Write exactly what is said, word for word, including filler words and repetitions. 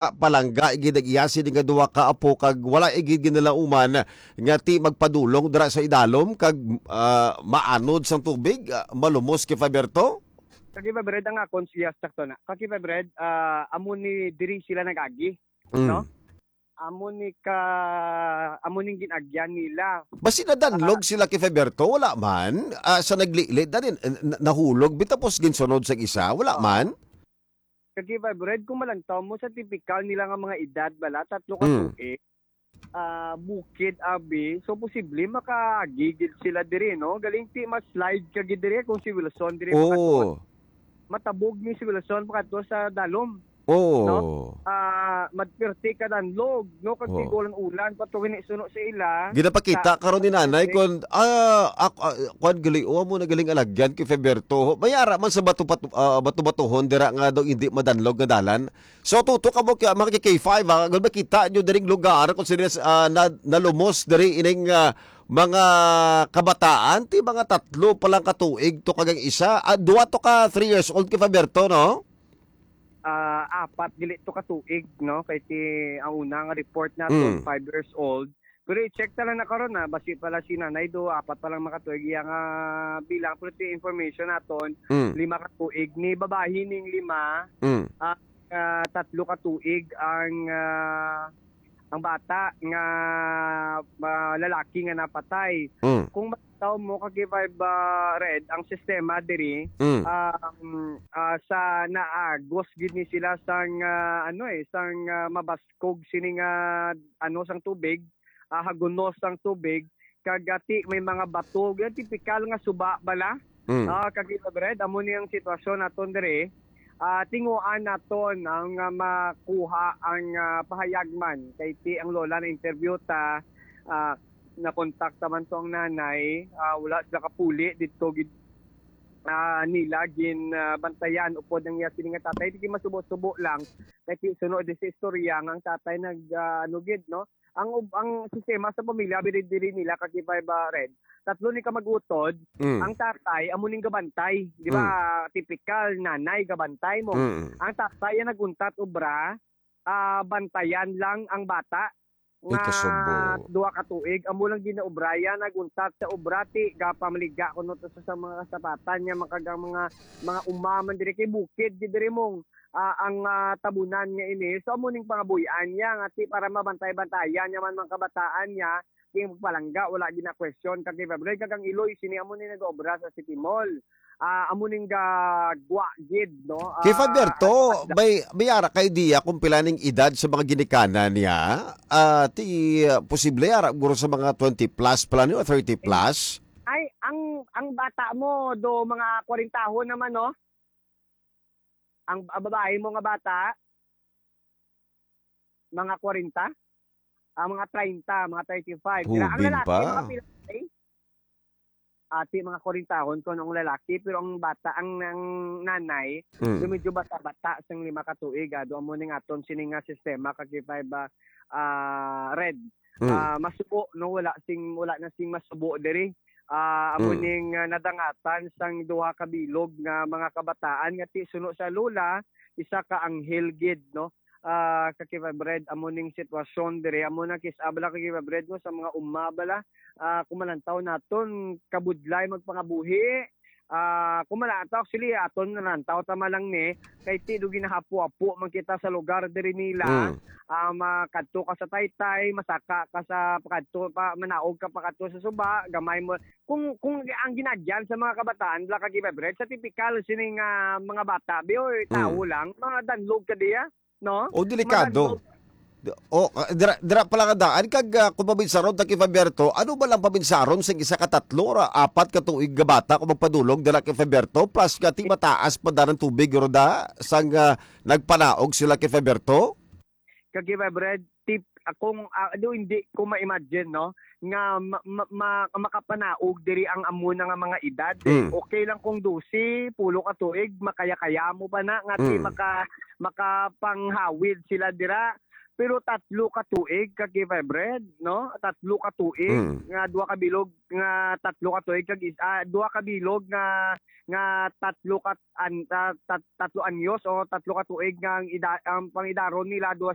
ah, palangga gid ang iya sini nga duha ka apo kag wala gid ginalauman nga ti magpadulong dira sa idalom kag, ah, maanod sang tubig, ah, malumos kay Faberto? Kag Iba Bread, ang akon siya sakto na. Kag Iba Bread, ah, amo ni diri sila nag-agi, Mm. no? Amo ni ka, amo ning gin-agyan nila. Basi nadanlog Ah. sila kay Faberto? Wala man. Ah, sa naglilit na din, eh, na-, nahulog, bitapos ginsunod sa isa? Wala Oo. man? Kag Iba Bread, kung malantaw mo sa tipikal nila nga mga edad, bala, tatlo ka Mm. tuig, ah, bukid, abi. So, posible makaagigid sila diri, no? Galing ti ma-slide ka gid diri kung si Wilson diri Oo. makatuon. Matabog ni si Wilson pakadto sa dalom, Oo. no? Ah, magpirti ka danlog, no? Kag Oo. tigulang ulan, pa to gini suno sa ila. Ginapakita Sa karon ni nanay kon, ah, ak-, ah, kwan gali, oh, amo na galing alagyan kay Feberto. May ara man sa bato-bato, ah, bato-batuhon dira nga daw hindi madanlog nga dalan. So, tutok kamo kay, mga K five, ha, kung makita nyo diring lugar kung sino, ah, na, nalumos diri ining, ah, mga kabataan, ti mga tatlo pa lang ka tuig to kag ang isa, ah, duha to ka three years old kay Faberto, no? Ah, apat gali to ka tuig, no? Kay ti, ang una nga report naton, Mm. five years old. Pero i-check ta lang na karon, ah, basi pala si nanay do, apat pa lang makatuig iya nga bilang. Pero ti information naton, Mm. lima ka tuig. Ni babayi ning lima, Mm. ah, ah, tatlo ka tuig ang, ah, ang bata nga, ah, lalaki nga napatay. Mm. Kung makitaw mo, ka K five, ah, Red, ang sistema diri, Mm. um, ah, sa naagos gid ni sila sang, ah, ano, eh, sang, ah, mabaskog sini nga, ano, sang tubig, ah, hagunos sang tubig, kag ati may mga bato, yung tipikal nga suba bala. Mm. Ah, kag Iba Bread, amo ni ang sitwasyon naton diri. Ah, tinguan naton ang, ah, makuha ang, ah, pahayag man. Kay ti ang lola na interview ta, ah, nakontak ta man to ang nanay, ah, wala sila kapuli dito gid, ah, nila gin, ah, bantayan upod ang iya sini nga tatay. Di masubo-subo lang. Kay ti sunod di sa istorya nga ang tatay nag, ah, ano gid, no? Ang ub-, ang sistema sa pamilya, biri diri nila, ka K five, ah, Red. Tatlo ni ka mag-utod, Mm. ang tatay, amo ning gabantay. Di ba, Mm. tipikal, nanay, gabantay mo. Mm. Ang tatay ang nag-untat obra, ah, bantayan lang ang bata Ay, nga kasubo. duha ka tuig. Amo lang ginaobrayan, nag-untat sa obra, ti, gapamaliga kuno to sa, sa mga kasapatan niya, makag ang mga, mga umaman diri kay bukid, di diri mong, ah, ang, ah, tabunan nga ini. So, amo ning pangabuy-an niya, nga ti, para mabantay-bantayan niya man mga kabataan niya, kay magpalangga, wala gina-question, kag kay February, kag ang Iloy, sini amo ni nag-obra sa City Mall. Ah, amo ning gagwa gid, no? Kay Ah, Faberto, ano pa sila? may, may ara ka idea kung pila ning edad sa mga ginikanan niya? Ah, ti, ah, posible ara guro sa mga twenty plus pa lang o thirty plus? Ay, ang, ang bata mo, do mga kwarentahon naman, no? Ang, ang babae mo nga bata, mga kwarenta? Ang mga treinta, mga thirty-five. Sila, ang Hubin lalaki, pa. mga pila, eh? Ati, mga kwarentahon ko nung lalaki, pero ang bata, ang, ang nanay, Mm. do medyo bata-bata, sang lima ka tuig, ah, do amo ning aton sini nga sistema, ka K five, ah, ah, Red. Mm. Ah, masubo, no? Wala sing, wala na sing masubo diri. Ah, amo Mm. ning, ah, nadangatan sang duha ka bilog nga mga kabataan nga ti suno sa lola, isa ka anghel gid, no? Ah, ka K five Red, amo ning sitwasyon diri. Amo na kis-, ah, bala, ka K five Red, no, sa mga uma, bala. Ah, kung malantaw naton, kabudlay magpangabuhi. Ah, kung malantaw, actually, aton nalantaw tama lang ni, kay ti do ginahapo-hapo man kita sa lugar diri nila. Mm. Ah, makadto ka sa Taytay, masaka ka sa pakadto pa, manaog ka pakadto sa suba, gamay mo. Kung, kung ang ginagyan sa mga kabataan, bala, ka K five Red, sa tipikal sining, ah, mga bata, bi, oy, tawo Mm. lang, mga danlog ka diya, no? O, delikado. Mga danlog. O, ah, dira, dira pala nga daan, kag, ah, kung mabinsaron ta kay Faberto, ano ba lang pabinsaron sa isa ka tatlo ra apat ka tuig nga bata kung magpadulong dira kay Faberto? Plus nga ti mataas pa daan ang tubig, Roda, sang, ah, nagpanaog sila kay Faberto? Kag Iba Bread, tip, akong, ah, do, hindi ko ma-imagine, no, nga ma-, ma-, ma-, makapanaog diri ang amo na nga mga edad, eh. Mm. Okay lang kung dose, pulo ka tuig, makaya-kaya mo pa na, nga ti Mm. maka-, makapanghawid sila dira. Pero tatlo ka tuig ka K five Red, no? Tatlo ka tuig Mm. nga duha ka bilog nga tatlo ka tuig kag is, ah, duha ka bilog nga nga tatlo ka an, ah, tat, tatlo anyos o tatlo ka tuig nga ang ida, ang pangidaron nila duha